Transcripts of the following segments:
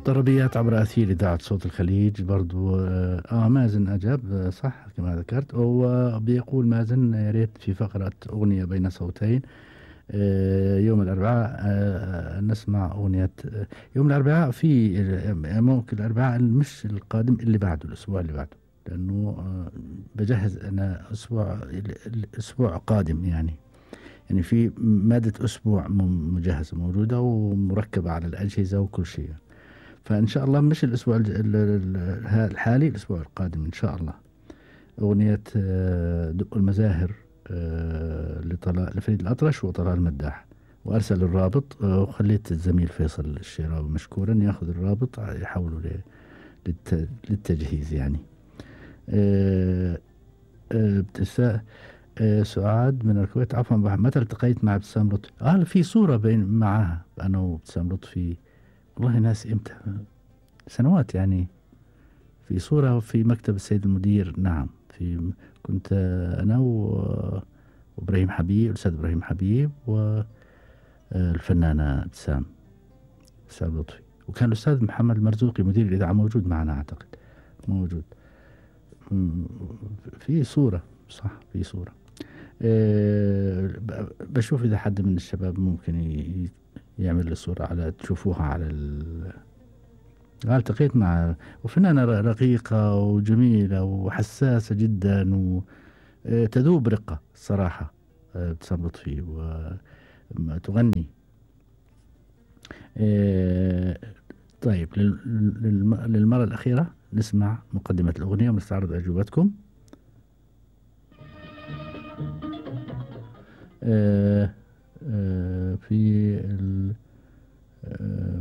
طربيات عبر أثير إذاعة صوت الخليج برضو. مازن أجاب صح كما ذكرت. وبيقول مازن يا ريت في فقرة أغنية بين صوتين. يوم الأربعاء نسمع أغنية يوم الأربعاء في ممكن الأربعاء مش القادم اللي بعده الأسبوع اللي بعده، لأنه بجهز أنا الأسبوع قادم يعني في مادة أسبوع مجهزة موجودة ومركبة على الأجهزة وكل شيء. فإن شاء الله مش الأسبوع الحالي، الأسبوع القادم إن شاء الله أغنية دق المزاهر لفريد الأطرش وطلال المداح. وأرسل الرابط وخليت الزميل فيصل الشراوي مشكورا يأخذ الرابط يحوله للتجهيز يعني. سعاد من الكويت عفوا متى التقيت مع ابتسام لطفي؟ في صورة بين معها أنا وابتسام لطفي والله ناس امتى سنوات يعني، في صورة في مكتب السيد المدير. نعم كنت أنا وإبراهيم حبيب الأستاذ إبراهيم حبيب والفنانة ابتسام لطفي، وكان الأستاذ محمد مرزوقي مدير الإذاعة موجود معنا أعتقد موجود في صورة صح في صورة. بشوف إذا حد من الشباب ممكن يعمل لي صورة على تشوفوها على التقيت مع وفنانة رقيقة وجميلة وحساسة جدا وتذوب رقة الصراحة ابتسام لطفي وتغني. طيب للمرة الأخيرة نسمع مقدمة الأغنية ونستعرض أجوبتكم. في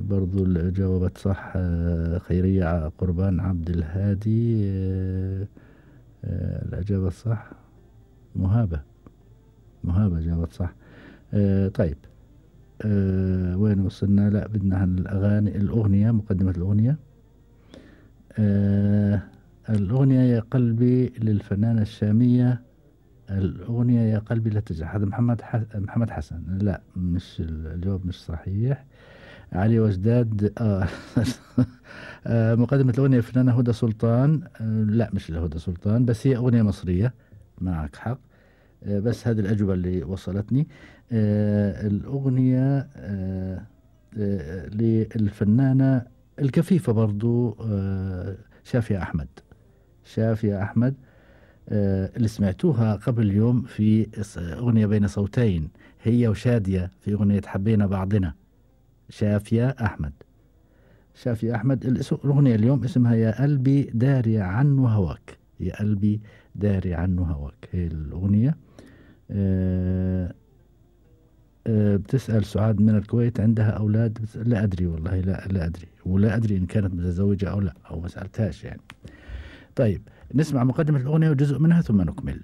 برضو جاوبت صح خيرية قربان عبد الهادي. الإجابة الصح مهابة جاوبت صح. طيب وين وصلنا؟ لا بدنا الأغنية مقدمة الأغنية. الأغنية يا قلبي للفنانة الشامية. الأغنية يا قلبي لا تجرح هذا محمد حسن. لا مش الجواب مش صحيح. علي وجداد مقدمة الأغنية الفنانة هدى سلطان. لا مش لهدى سلطان بس هي أغنية مصرية معك حق. بس هذه الأجوبة اللي وصلتني. الأغنية للفنانة الكفيفة برضو شافية أحمد اللي سمعتوها قبل يوم في أغنية بين صوتين هي وشادية في أغنية حبينا بعضنا. شافية أحمد الأغنية اليوم اسمها يا قلبي داري عنه هواك. يا قلبي داري عنه هواك هي الأغنية. بتسأل سعاد من الكويت عندها أولاد؟ لا أدري والله لا أدري ولا أدري إن كانت متزوجة أو لا أو ما سألتهاش يعني. طيب نسمع مقدمة الأغنية وجزء منها ثم نكمل.